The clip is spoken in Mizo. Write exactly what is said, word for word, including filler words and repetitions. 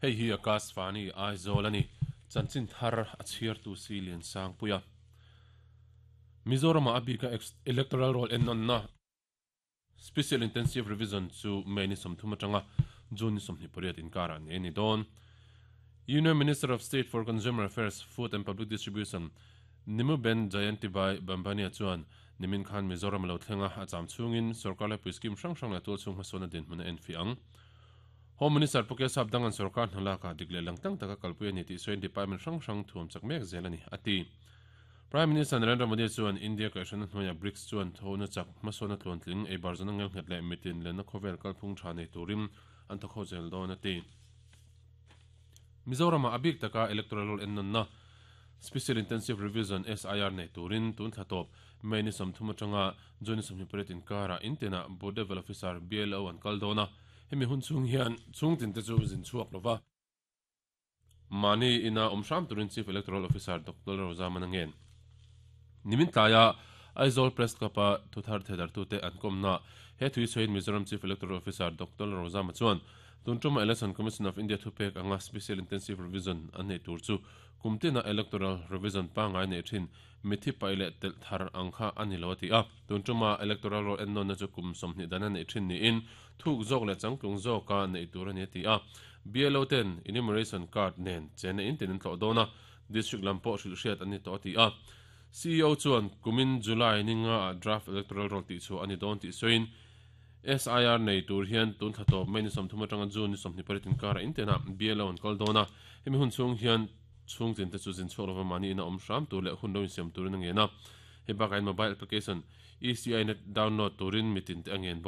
Hei hi Akashvani Aizawl ani chanchin thar a chhiar tu si lian sang puia Mizoram a abika electoral roll en non na Special Intensive Revision chu May ni sawmthum atanga June ni sawmhnih pariat inkara ne ni dawn Union Minister of State for Consumer Affairs Food and Public Distribution Nimuben Jayantibhai Bambhaniya chuan nimin khan Mizoram lo thlenga a cham chungin sarkar le scheme hrang hrang la tul chung hmasona din hmun en fi ang Home Minister Puke Sap dangan sarkar hnala ka dikle langtang taka kalpui ani ti soin department hrang hrang thuam chak mek zel ani ati Prime Minister Narendra Modi chuan India ka hran hnuaia BRICS chuan thona chak hmasona tluan tling ei barzana ngel nghet le mitin le na khovel kalphung tha nei turim an thakho zel dawn ati Mizoram abik taka electoral roll en na Special Intensive Revision S I R nei turin tun thlatop May ni sawmthum atanga June sawmhnih pariat inkara intina Booth Level Officer B L O an kal dawna hemi hun chung hian chung tin te chu zin chuak lova mani ina omsham turin Chief Electoral Officer Doctor Rozama nangen nimin tlaya Aizawl Press Club a thuthar thedar tu te an komna he thui soin Mizoram Chief Electoral Officer Doctor Rozama chuan tuntuma Election Commission of India thupek anga Special Intensive Revision an nei tur chu kumtina electoral revision pa ngai nei thin mithi paile tel thar angkha ani lo ti a tuntuma electoral roll en non na chu kum somni dana nei thin ni in thuk zok le changtlung zoka nei tur ani ti a B L O ten enumeration card nen chen in tin tlo dona district lampo hril hriat ani to ti a C E O chuan kumin July ninga draft electoral roll ti chu ani don ti soin S I R nei tur hian tun thlatop May ni sawmthum atanga June ni sawmhnih pariat inkara intena B L O an kal dawna hemi hun chhung hian chhung tin te chu zin chhuak lova mani ina awm hram tur leh hun lo insiam turin a ngen a hei bakah mobile application E C I net download turin mitin te a ngen bawk.